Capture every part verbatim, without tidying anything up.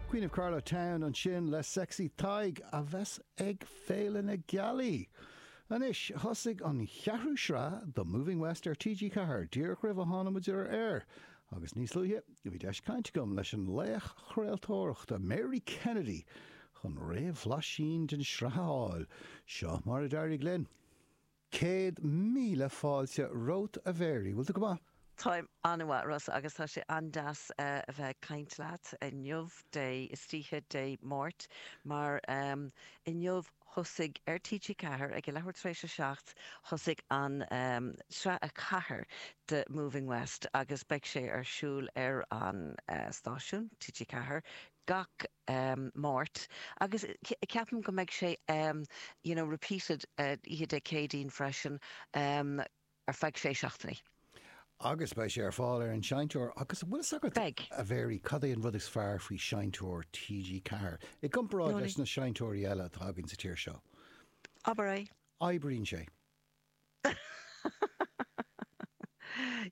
Queen of Carlow Town ansin le Sexy Tadhg a bheas ag Féile na Gealaí. Anois thosaigh an cheathrú sraith de Moving West ar TG Ceathair díreach roimh a tháinig muid ar air. Agus níos luaithe bhí deis caint agam leis an laoch chraoltóireachta Mary Kennedy chun réamhbhlaisín den sraith a fháil, seo mar a d'éirigh linn. Céad míle fáilte romhat a Mhary, bhfuil tú go maith? Táim an-mhaith Rossa agus tá sé an-deas uh, a bheith caint leat inniu Dé istoíche Dé Máirt mar um, inniu thosaigh ar TG Ceathair ag leathuair tar éis a seacht thosaigh an um, sraith a ceathair de Moving West agus beidh sé ar siúl ar an uh, stáisiún TG Ceathair gach um, Máirt agus ceapaim go mbeidh sé um, you know, repeated uh, oíche Dé Céadaoin freisin um, ar feadh sé seachtainí. Agus beidh sé ar fáil ar an seinnteoir agus bhfuil agat Beidh. a Mhary cad é an rud is fearr faoi seinnteoir TG Ceathair. I gcomparáid leis na seinnteoirí eile atá againn sa tír seo. Abair é. Oibríonn sé.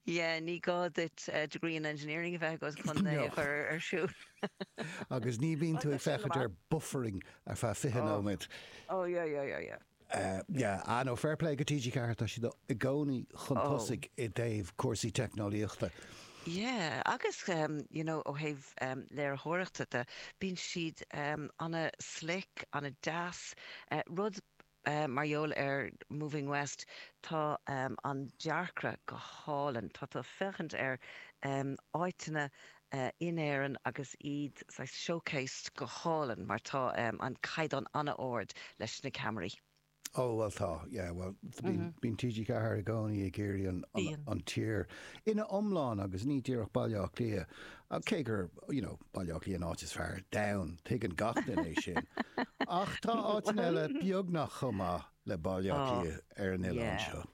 Yeah, ní gá duit uh, degree in engineering a bheith agat chun é No. a chur ar siúl. Agus ní bhíonn tú ag Tá sin féachaint ar buffering ar feadh fiche Oh. nóiméad. Oh yeah, yeah, yeah, yeah. Uh, yeah, ah, no, fair play go TG Ceathair tá siad i gcónaí chun Oh. tosaigh i dtaobh cúrsaí teicneolaíochta. Yeah, agus um, you know, ó thaobh um, léiritheoireachta de bíonn siad um, an-slick, an-deas, uh, rud uh, mar gheall ar Moving West tá um, an dearcra go hálainn, Tá tá féachaint ar um, áiteanna uh, in Éirinn agus iad saghas showcased go hálainn mar tá um, an caighdeán an-ard leis na ceamaraí. Oh well tá yeah, well bíonn bíonn TG Ceathair i gcónaí ag iarraidh an, an, Bíonn. an tír ina iomlán agus ní díreach Baile Átha Cliath cé gur you know, Baile Átha Cliath an áit is fearr domhan tuigeann gach duine é sin. Ach tá áiteanna eile beagnach chomh maith le Baile Átha Oh, Cliath ar an oileán yeah. seo.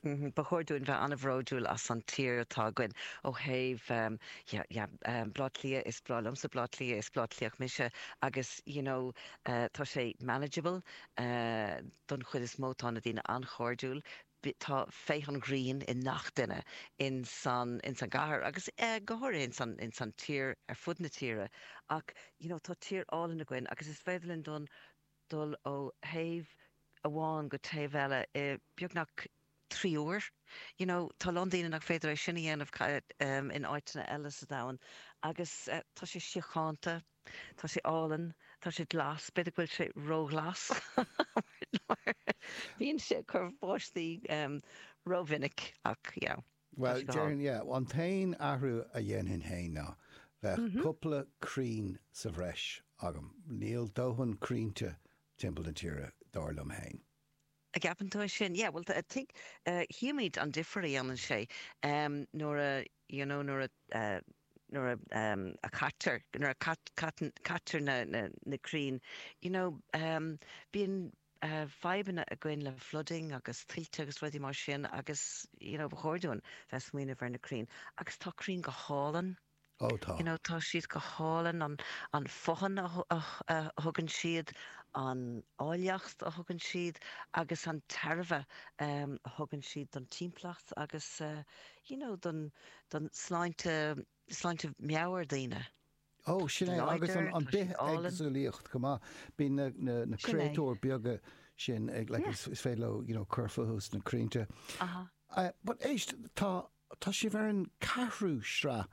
Mhm, Ba chóir dúinn bheith an-bhródúil as an tír atá againn ó thaobh um, yeah, yeah, um, Bleá Cliath is breá liomsa Bleá Cliath is Bleá Cliath mise agus you know, uh, tá sé manageable uh, don chuid is mó tá na daoine an-chairdiúil. Bi- Tá féith an ghrinn i ngach duine in san in san gcathair agus uh, go háirithe in san in san tír ar fud na tíre ach you know, tá tír álainn againn agus is féidir linn don dul ó thaobh amháin go taobh eile i beagnach trí uair. You know, tá Londain nach féidir é sin a dhéanamh ca- um, in áiteanna eile sa domhan agus uh, tá sé síochánta, tá sé álainn, tá sé glas, b'fhéidir go bhfuil sé róghlas. Bíonn sé cur báistí um, rómhinic ach yeah, Well sé go déarfainn yeah, an t-aon athrú a dhéanfainn féin ná bheith cúpla crann sa bhreis agam. Níl dóthain crainnte timpeall na tíre dar liom féin. A gceapann tú sin yeah, well I think uh, chímid an difear a dhéanann sé um, nuair a you know, nuair a uh, nuair a um, a caitear nuair a cat, cat, caitear na, na, na crainn you know, um, bíonn uh, fadhbanna againn le flooding agus tuilte agus rudaí mar sin agus you know, ba chóir dúinn bheith smaoineamh ar na crainn agus tá crainn go hálainn Ó tá. You know, tá siad go hálainn an an fothain a, a, a thugann siad an áilleacht a thugann siad agus an tairbhe um, a thugann siad don timpeallacht agus uh, you know, don, don sláinte sláinte meabhair daoine. Ó sin é agus an, láidir, an tá siad álainn. bithéagsúlacht go maith bíonn na, na, na Sin é. créatúir beaga sin ag like, Yeah. is, is féidir leo you know, cur fúthu sna crainnte. Aha. Uh, but éist tá tá sibh ar an ceathrú sraith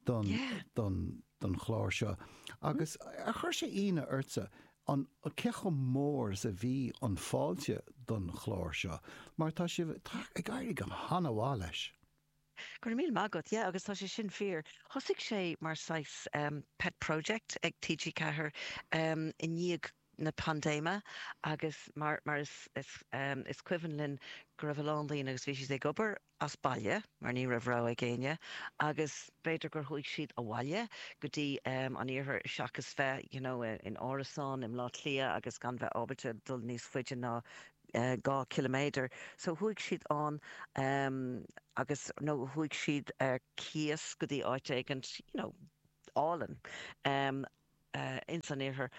don, Yeah. don, don chlár seo. Agus ar chuir sé ionadh ortsa an cé chomh mór is a bhí an fáilte don chlár seo, mar tá sibh tá ag éirí go han-mhaith leis. Gur míle maith agat, yeah, agus tá sé sin fíor. Thosaigh sé mar saghas um, pet project ag TG Ceathair um, i ndiaidh na paindéime agus mar, mar is, is, um, is cuimhin linn go raibh a lán daoine agus bhí siad ag obair as baile mar ní raibh rogha ag éinne agus b'fhéidir gur chuaigh siad abhaile go dtí um, an iarthar seachas bheith you know, in árasán i mBleá Cliath agus gan bheith ábalta dul níos faide ná uh, dhá kilometer. So chuaigh siad an um, agus nó chuaigh siad ar cíos go dtí áit éigin you know, álainn um, uh, in san iarthar.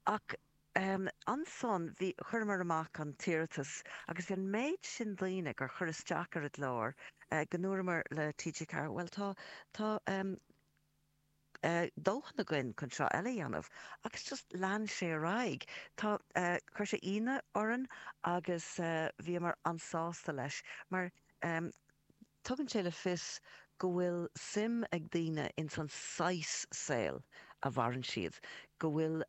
Ach um, ansan bhí chuireamar amach an t-iarratas agus bhí an méid sin daoine gur chuir isteach ar an gclár uh, go ndúramar le TG Ceathair well tá tá um, dóthain againn chun sraith eile a dhéanamh agus just lean sé ar aghaidh. Tá, chuir sé ionadh orainn agus bhíomar an-sásta leis mar tugann sé le fios go bhfuil suim ag daoine ins an saghas saoil a mhaireann siad, go bhfuil,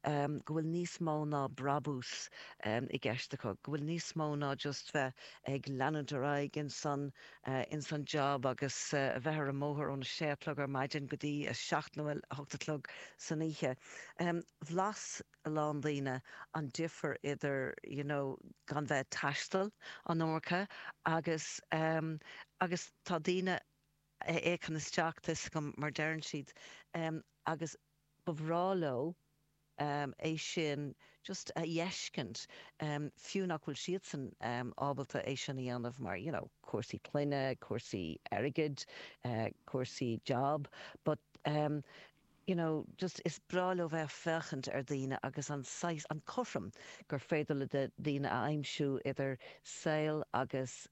go bhfuil níos mó ná brabús i gceist acu, go bhfuil níos mó ná just bheith ag leanúint ar aghaidh ins an, ins an job agus a bheith ar an mbóthar óna sé a chlog ar maidin go dtí a seacht nó a hocht a chlog san oíche. Bhlas a lán daoine an difear idir you know gan bheith ag taisteal an iomarca agus, agus tá daoine a fhéachann isteach, tá 'fhios agam, mar deireann siad, agus ba bhreá leo é sin just a fheiscint, fiú nach bhfuil siadsan ábalta é sin a dhéanamh mar, you know, cúrsaí clainne, cúrsaí airgid, cúrsaí job, but you know, just is breá leo bheith ag féachaint ar daoine agus an saghas, an cothrom gur féidir le daoine a aimsiú idir saol agus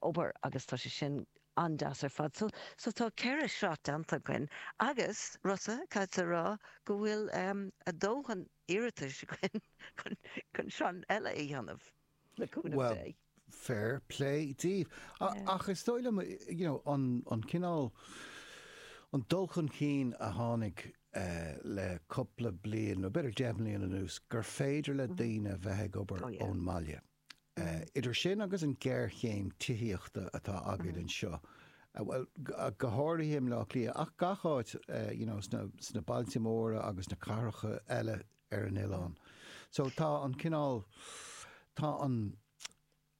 obair agus tá sé sin an-deas ar fad. So, so tá ceithre shraith déanta againn agus, Rossa, caithfidh a rá go bhfuil a dóthain iarratais againn chun, chun sraith eile a dhéanamh, le cúnamh Well, Dé. fair play daoibh. Ach is dóigh liom, you know, an, an cineál, an dul chun cinn a tháinig le cúpla bliain, nó b'fhéidir deich mbliana anuas, gur féidir le daoine bheith ag obair Oh yeah. ón mbaile. Idir sin agus an géarchéim tithíochta atá againn anseo, bhuel, go háirithe i mBleá Cliath, ach gach áit, you know, sna, sna bailte móra agus na cathracha eile ar an oileán. So tá an cineál, tá an,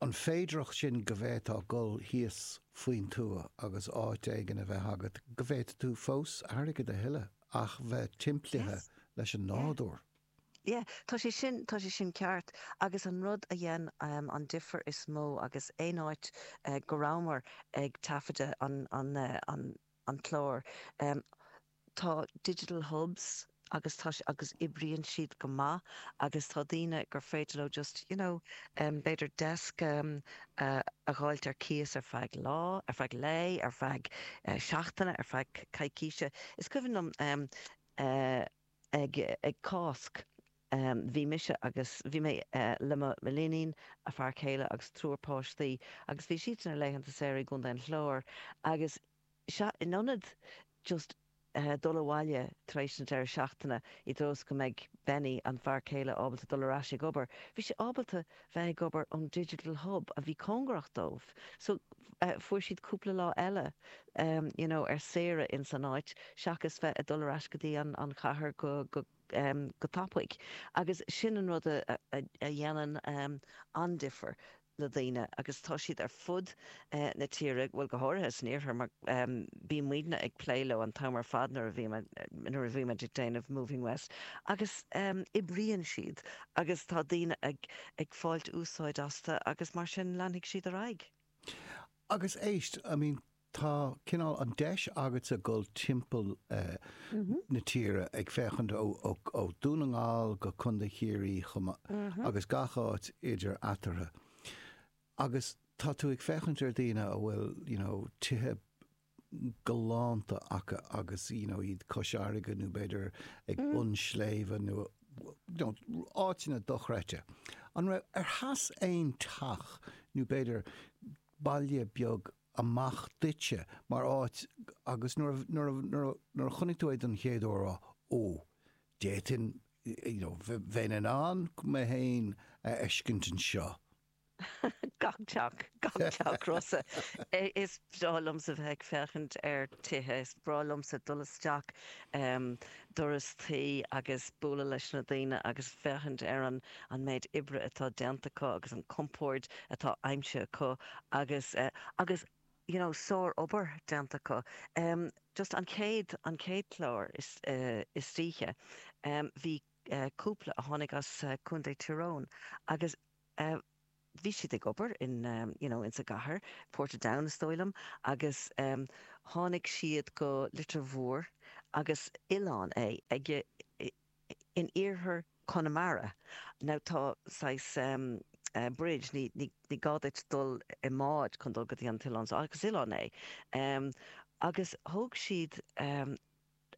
an féidireacht sin go bhféadfá dul thíos faoin tuath agus áit éigin a bheith agat, go bhféadfaidh tú fós airgead a thuilleamh ach bheith timplithe Yes. leis an Yeah. nádúr. Yeah, tá sé sin, tá sé sin ceart agus an rud a dhein an difear is mó agus aon áit go rabhamar ag taifeadadh an, an, an, an clár, tá digital hubs agus tá sé, agus oibríonn siad go maith agus tá daoine gur féidir leo just, you know, b'fhéidir desk a dh'fháilt ar cíos ar feadh lá, ar feadh lae, ar feadh seachtaine, ar feadh coicíse. Is cuimhin liom ag, ag Cásc, bhí mise agus bhí mé le mo léinín, a fear céile agus triúr páistí agus bhí siadsan ar laethanta saoire i gContae an Chláir agus sea, in ionad just dul abhaile tar éis an deireadh seachtaine i dtreo is go mbeidh Benny, an fear céile, ábalta dul ar ais ag obair, bhí sé ábalta bheith ag obair ón Digital Hub a bhí cóngarach dóibh. So fuair siad cúpla lá eile you know ar saoire ins an áit seachas bheith ag dul ar ais go dtí an an chathair go go go tapaidh. Agus sin an rud a a dhéanann an-difear le daoine agus tá siad ar fud na tíre, bhuel go háirithe san iarthar mar bíonn muidne ag plé leo an t-am ar fad nuair a bhíonn nuair a bhímid ag déanamh Moving West agus oibríonn siad agus tá daoine ag ag fáilt úsáid astu agus mar sin leanfaidh siad ar aghaidh. Agus éist, I mean, tá cineál an deis agatsa dul timpeall na tíre ag féachaint ó ó Dún na nGall go Contae Chiarraí chomh maith agus gach áit idir eatarthu. Agus tá tú ag féachaint ar daoine a bhfuil, you know, tithe galánta acu agus, you know, iad cois fharraige nó b'fhéidir ag bun sléibhe nó, you know, áiteanna dochreidte. An raibh, ar sheas aon teach nó b'fhéidir baile beag amach duitse mar áit agus nuair a, nuair a, nuair a, nuair a chonaic tú é don chéad uair rá, ó, d'fhéadfainn, you know, bheinn in ann mé féin a fheiscint anseo. Gach teach, gach teach, Rossa. Is breá liomsa bheith ag féachaint ar tithe, is breá liomsa dul isteach doras tí agus bualadh leis na daoine agus féachaint ar an an méid oibre atá déanta acu agus an compord atá aimsithe acu agus agus you know sár-obair déanta acu. Just an chéad an chéad chlár is istoíche bhí cúpla a tháinig as Contae Tyrone agus bhí siad ag obair in you know insa gcathair, Portadown is dóigh liom, agus tháinig siad go Leitir Mhóir agus oileán é ag in iarthar Chonamara. Now tá saghas bridge, ní ní ní gá duit dul i mbád chun dul go dtí an t-oileán so agus oileán é. Agus thóg siad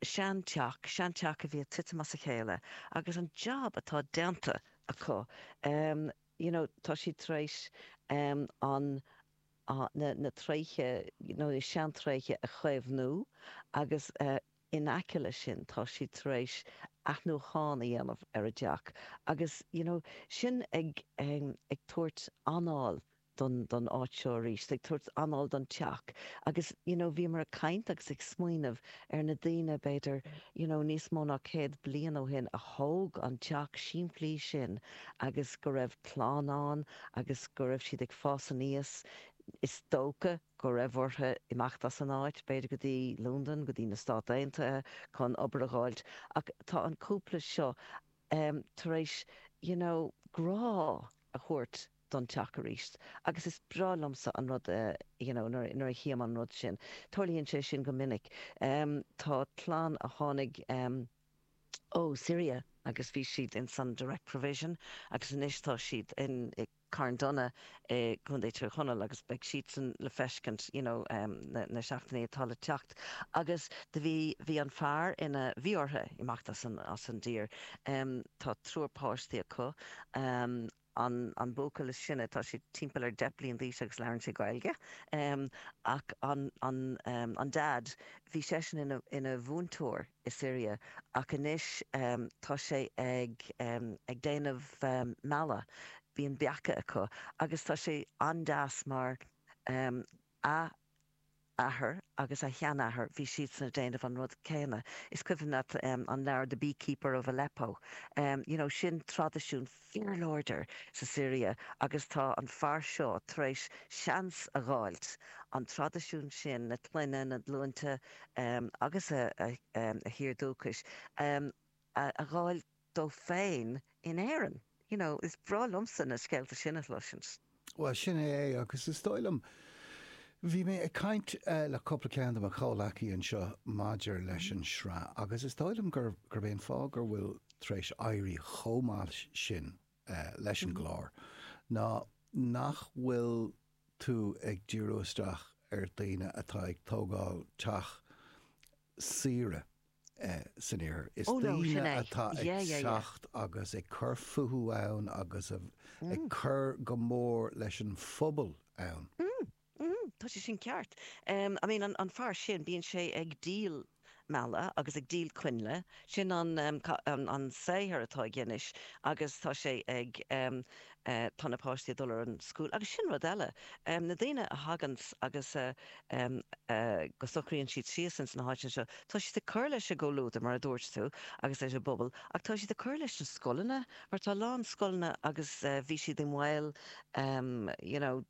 seanteach, seanteach a bhí ag titim as a chéile agus an job atá déanta acu, you know, tá siad tar éis an, na, na tréithe, you know, na seantréithe a chaomhnú agus in aice leis sin tá siad tar éis athnuachan a dhéanamh ar an dteach agus, you know, sin ag, ag tabhairt anáil don don áit seo arís, ag tabhairt anáil don teach agus you know bhíomar ag caint agus ag smaoineamh ar na daoine b'fhéidir you know níos mó ná céad bliain ó shin a thóg an teach simplí sin agus go raibh clann ann agus go raibh siad ag fás aníos, is dócha go raibh orthu imeacht as an áit, b'fhéidir go dtí Londain, go dtí na Stáit Aontaithe chun obair a dh'fháilt ach tá an cúpla seo em tar éis you know grá a thabhairt don teach arís agus is breá liomsa an rud you know nuair nuair a chím an rud sin. Tarlaíonn sé sin go minic. Tá clann a tháinig ó Syria agus bhí siad ins an direct provision agus anois tá siad in i Carndonagh i gContae Tír Chonaill agus beidh siadsan le feiscint you know na na seachtainí atá le teacht agus do bhí bhí an fear ina bhí orthu imeacht as an as an dtír. Tá triúr páistí acu. An an buachaill is sine, tá sé timpeall ar deich bliain d'aois agus labhrann sé Gaeilge. Ach an an an Dad, bhí seisean ina ina mhúinteoir i Siria ach anois tá sé ag ag déanamh meala, bíonn beacha acu agus tá sé an-deas mar a athair agus a sheanathair, bhí siadsan ag déanamh an rud céanna. Is cuimhin leat an leabhar The Beekeeper of Aleppo? You know, sin traidisiún fíorláidir sa Siria agus tá an fear seo tar éis seans a dh'fháilt an traidisiún sin, na clainne, na glúinte agus a thír dúchais a dh'fháil dó féin in Éirinn. You know, is breá liomsa na scéalta sin a chloisint. Bhuel, sin é é agus is dóigh liom, bhí mé ag caint le cúpla ceann de mo chomhleacaí anseo maidir leis an sraith agus is dóigh liom gur, gurb é an fáth gur bhfuil tar éis éirí chomh maith sin leis an gclár ná nach bhfuil tú ag díriú isteach ar daoine atá ag tógáil teach saoire san iarthar. Is Oh no, sin daoine é. atá ag Yeah, yeah, yeah. teacht agus ag cur fúthu ann agus ag Mm. cur go mór leis an phobal ann. Mm, mm, tá sé sin ceart. Um, I mean, an, an fear sin, bíonn sé ag díol meala agus ag díol coinnle, sin an, um, an, an saothar atá aige anois agus tá sé ag, um, eh, tá na páistí ag dul ar an school agus sin rud eile. Um, na daoine a thaganns agus eh, um, eh, go socraíonn siad síos ins na háiteanna seo, tá siad ag cur leis an gcomhluadar mar a dúirt tú agus leis an bpobal ach tá siad ag cur leis na scoileanna mar tá a lán scoileanna agus eh, bhí siad i mbaol um, you know,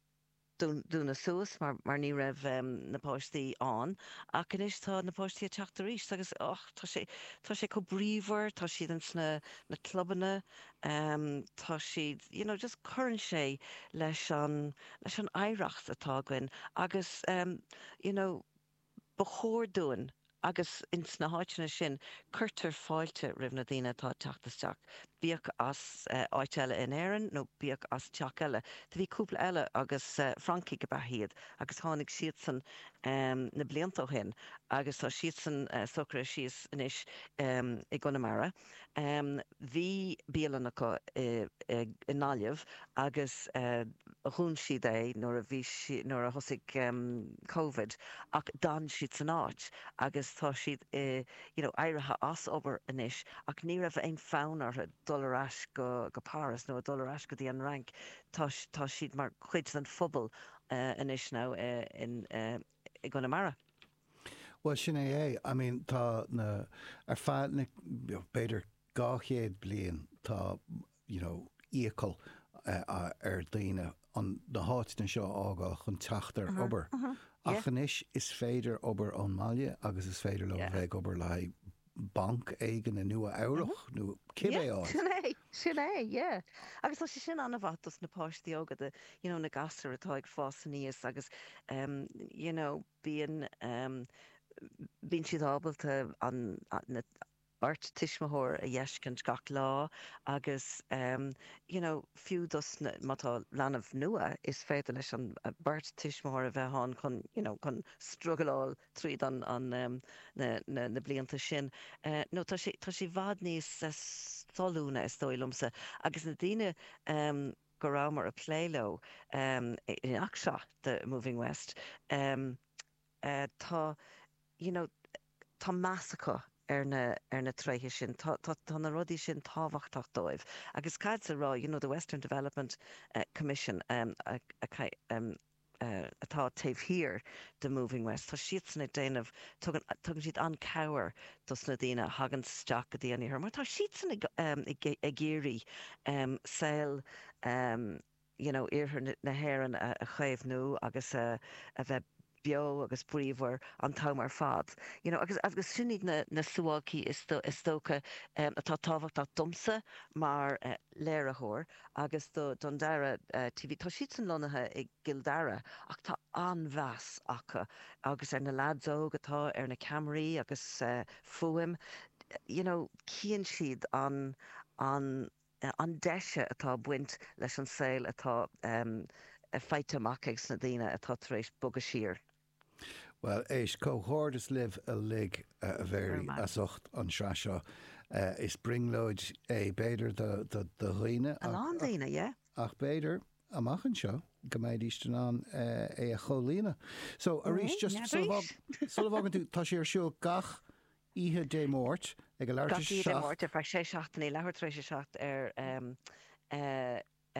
dúnadh suas mar mar ní raibh na páistí ann ach anois tá na páistí ag teacht arís agus och tá sé tá sé chomh bríomhar, tá siad ins na na clubanna, tá siad you know just cuireann sé leis an leis an oidhreacht atá againn agus you know ba chóir dúinn agus ins na háiteanna sin cuirtear fáilte roimh na daoine atá ag teacht isteach, bíodh as áit eile in Éirinn nó bíodh as teach eile. Do bhí cúpla eile agus Francaigh ab ea iad agus tháinig siadsan na blianta ó shin agus tá siadsan socraithe síos anois i gConamara. Bhí bialann acu i nGaillimh agus dhún siad é nuair a bhí nuair a thosaigh Covid ach d'fhan siad san áit agus tá siad you know éirithe as obair anois ach ní raibh aon fonn orthu dul ar ais go go Páras nó dul ar ais go dtí an Fhrainc. Tá tá siad mar chuid den phobal anois now in i gConamara. Bhuel, sin é é. I mean, tá na, ar feadh na, b'fhéidir dhá chéad bliain, tá, you know, iachall ar daoine an, na háiteanna seo a fhágáil chun teacht ar obair. Ach anois is féidir obair ón mbaile agus is féidir leo a bheith ag obair le haghaidh banc éigin i Nua Eabhrach nó cibé Yeah, áit. sin é, sin é, yeah. Agus tá sé sin an-mhaith dos na páistí óga, do, you know, na gasúir atá ag fás aníos agus, um, you know, bíonn, um, bíonn siad ábalta an, na, beirt tuismitheoir a fheiscint gach lá agus um, you know, fiú dos na, má tá leanbh nua is féidir leis an beirt tuismitheoir a bheith ann chun you know, chun struggleáil tríd an, an um, na, na, na blianta sin. Uh, no tá sé tá sé i bhfad níos uh, solúna is dóigh liomsa agus na daoine um, go rabhamar ag plé leo um, in acseo the Moving West um, uh, tá you know, tá meas acu ar na ar na tréithe sin tá, tá, tá na rudaí sin tábhachtach dóibh. Agus cad sa rá you know, the Western Development uh, Commission um, a, a, um, uh, atá taobh thiar de Moving West. Tá siadsan ag déanamh tugann siad an-chabhair dos na daoine a thagann isteach go dtí an iarthar, mar tá siadsan ag, um, ag, ag iarraidh um, saol um, you know, iarthar na hÉireann a, a chaomhnú agus a, a bheith beo agus bríomhar an t-am ar fad. You know, agus agus sin iad na, na suáilcí is, do, is dócha um, atá tábhachtach domsa mar uh, léiritheoir agus do don dara uh, TV. Tá siadsan lonnaithe i gCill Dara ach tá an-mheas acu agus ar na lads óg atá ar na ceamaraí agus uh, fuaim. You know, cíonn siad an, an, an deise atá baint leis an saol atá um, faighte amach ag na daoine atá tar éis bogadh siar. Well éist comhghairdeas libh uilig a Mhary as ucht an sraith seo. Uh, is brionglóid é b'fhéidir do do dhaoine A lán daoine, yeah. ach b'fhéidir amach anseo go mbeidís in ann uh, é a chomhlíonadh. So arís just sula bhfágann tú tá sé ar siúl gach oíche Dé Máirt ag a leathuair Dé Máirt ar feadh sé seachtainí leathuair tar éis a seacht ar um, uh, uh,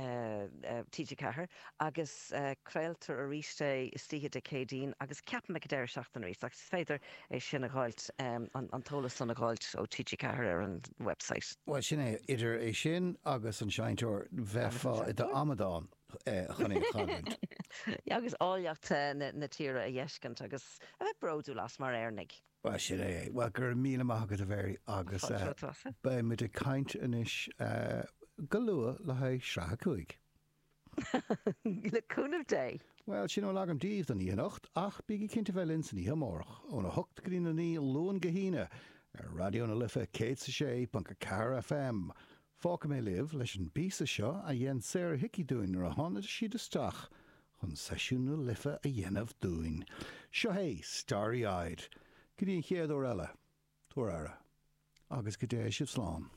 uh, TG Ceathair agus uh, craoltar arís é istoíche Dé Céadaoin agus ceapaim ag deireadh seachtaine arís agus is féidir é sin a fháilt um, an, an t-eolas san a fháilt ó TG Ceathair ar an website. Well sin é idir é sin agus an seinnteoir bheifeá i d'amadán chun é chaint. Ja, agus áilleacht na, na tíre a fheiscint agus a bheith bródúil as mar Éireannaigh. Well sin é well go raibh míle maith agat a Mhary agus beidh muid ag caint anois go luath le haghaidh sraith a cúig. Le cúnamh Dé. Well sin a bhfuil agam daoibh don oíche anocht ach bígí cinnte bheith linn san oíche amárach óna hocht go dtí a naoi Luan go hAoine ar Raidió na Life céad is a sé ponc a ceathair FM. Fágfaidh mé libh leis an bpíosa seo a dhein Sarah Hickey dúinn nuair a tháinig siad isteach chun seisiún na Life a dhéanamh dúinn. Seo é Starry Eyed. Go dtí an chéad uair eile. Tabhair aire. Agus go dté sibh slán.